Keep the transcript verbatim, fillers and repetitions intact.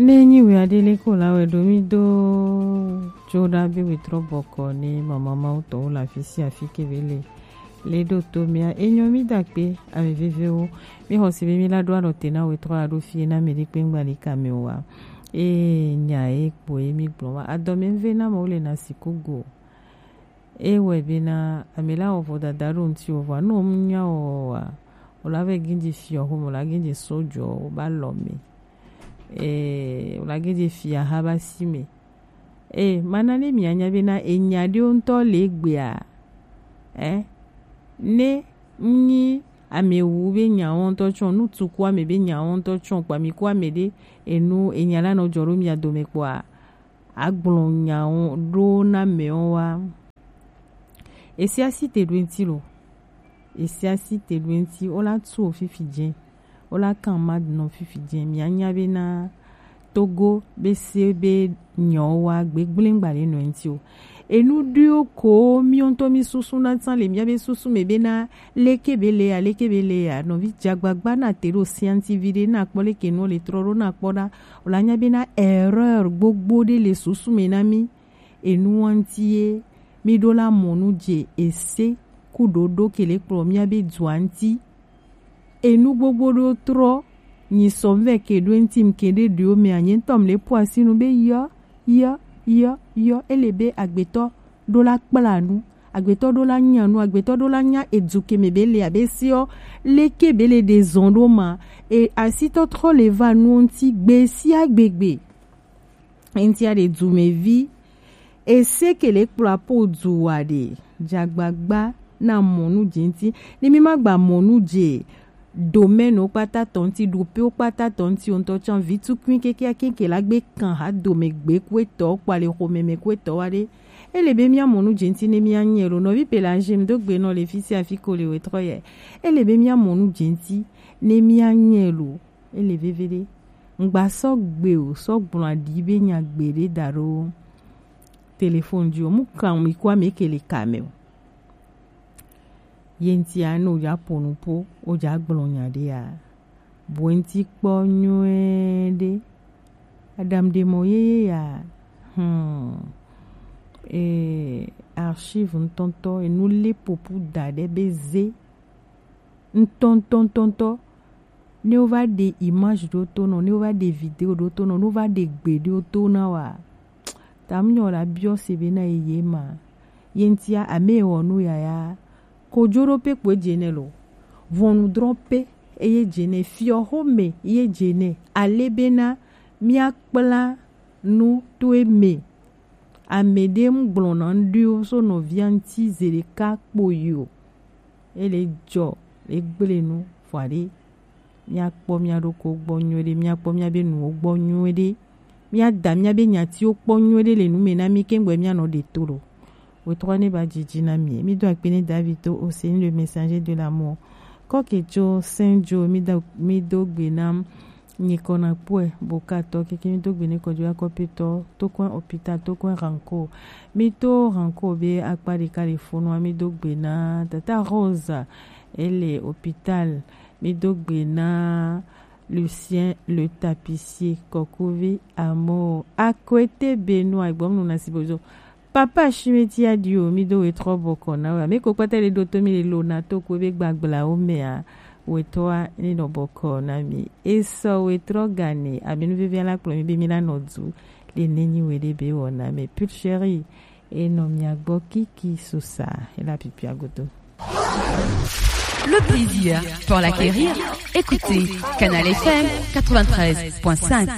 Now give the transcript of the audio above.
Ne nyi wɛ aɖe le ko la wɛ ɖo mi do tso ɖa be wɛ trɔ bɔkɔ ne mama mawu tɔwo le afi sia afi ke be le le ɖo to mia enyɔ mi da kpe ame vevewo mi xɔ si be mi la ɖo alɔ te na wɛ trɔ aɖo fie na mi ɖi kpe ŋgba li ka mi wa. Ee nya ye kpo ye mi gblɔ wa adɔ mi ve na mɔ wo le na si ko go. Ewɔe bena ame la wɔ vodada ɖo ŋutiwò vɔa ne wòmenya wɔwɔa, wòla vɛ gĩdzi fiɔ xome, wòla gĩdzi sojɔ woba lɔ me. Ee, wòla gĩdzi fia ha ba si me. Ee, mana ne mianya bena enya ɖewo ŋutɔ le egbea. Ɛ, ne nyi ame wu be nyawo ŋutɔ tsɔ, nu tu ku ame be nyawo ŋutɔ tsɔ kpa mi ku ame ɖe enu enya la nɔ dzɔ ɖo mia dome kpɔa, agblɔ nyawo ɖo na mɛwo wa. Esia si te ɖo ŋti lo. Esia si te ɖo ŋti. Wola tu wo fifi dze. Wola kan ma nɔ fifi dze. Mia nya be na Togo be se be nyawo wa gbegble ŋgba le nɔ ŋti o. Enu ɖiwo ko mi ŋutɔ mi susu na tsan le mia be susu me be na leke be le ya, leke be le ya. Nɔvi dzagbagba na te ɖo sianti vi ɖe na kpɔ leke nu le trɔ ɖo na kpɔ ɖa. Wòle anya bena erreur gbogbo ɖe le susu me na mí. Enu ŋuti ye mí ɖo la mɔ nu dze ese ku ɖoɖo ke le kplɔ mía be dua ŋti. Enu gbogbo ɖo trɔ nyi sɔ vɛ ke ɖo ŋti ke ɖe ɖo me anye ŋutɔ le po asinu be yɔ yɔ yɔ yɔ ele be agbetɔ ɖo la kpla nu, agbetɔ ɖo la nya nu, agbetɔ ɖo la nya edu ke me be le abe seɔ leke be le ɖe zɔn ɖo ma. E asitɔ trɔ le va nu ŋti gbe sia gbegbe. Ŋti a ɖe dumevi ese ke le kpla po du wa ɖe dzagbagba na mɔ nu dze ŋti ne mi ma gba mɔ nu dze domaine wo kpata tɔ ŋti, ɖope wo kpata tɔ ŋti wo ŋutɔ tsã vi tukui keke akenke la gbe kan ha dome gbe ku etɔ kpɔ ale xɔme me ku etɔ wa ɖe. Ele be mía mɔ nu dze ŋti ne mía nyɛ lo nɔvi Pelagie mi do gbe nɔ le fi sia fi ko le wetrɔ yɛ. Ele be mía mɔ nu dze ŋti ne mía nyɛ lo. Ele veve ɖe. Ŋgba sɔ gbe o, sɔ gblɔ aɖi be nya gbe ɖe da ɖo téléphone dzi o. Mu kan mi ku ame ke le ka me o. Ye ŋtia ne wodza ƒo nu ƒo, wodza gblɔ nya ɖea, bu eŋti kpɔ nyuie ɖe. Aɖaŋuɖemɔ yeye ya, hmm, e, archive ŋutɔŋutɔ, enu lé ƒoƒu da ɖe be ze ŋutɔŋutɔŋutɔ. Ne wova ɖe image ɖo to nɔ, ne wova ɖe video ɖo to nɔ, ne wova ɖe gbe ɖo to na wa, ta mu nyɔ la biɔ se be na ye ma. Ye ŋtia ame wɔ nu yaya. Kojoɖope kpoe dze nɛ lo. Ʋɔnudrɔ̃ƒe eye dze nɛ. Fiɔxome ye dze nɛ. Ale bena míakpla nu to eme. Ame ɖe ŋgblɔna ŋɖewo so nɔvia ŋti zeɖeka kpoyi o. Ele dzɔ le gble nu vɔa ɖe. Míakpɔ mía ɖokɔ gbɔ nyuie ɖe, míakpɔ mía be nuwo gbɔ nyuie ɖe, míada mía be nyatiwo kpɔ nyuie ɖe le nu me na mí keŋgbɔ mía nɔ ɖe to lo. Wetrɔ ne ba dzidzi na mí. Mí do akpe ne David to Hossein le messager de l'amour. Kɔke tso Saint Joe mí do mí do gbe na nyikɔ na kpɔe bokatɔ keke mí do gbe ne kɔdzi akɔpetɔ to kɔn hôpital to kɔn ranko. Mí to ranko be akpa ɖeka le fonua mí do gbe na tata Rose ele hôpital. Mi do gbe na Lucien le tapissier, Kokovi Amo, Akwete Benoît, Igbɔm nu na Sibozo. Papa Shimeti Adio, mi do wetrɔ bɔkɔ na wa. Mi ko kpata le do to mi le lo na to ko be gbagbla o mea. Wetrɔ a ni nɔ bɔkɔ na mi. Esɔ wetrɔ gane, abinu vivi ala kplɔ mi be mi la nɔ du. Le nenyi we de be wɔ na mi. Pure chérie, et non, mi a gbɔ kiki susa, et la pipi à godo. Le plaisir pour l'acquérir. Écoutez Canal F M quatre-vingt-treize point cinq.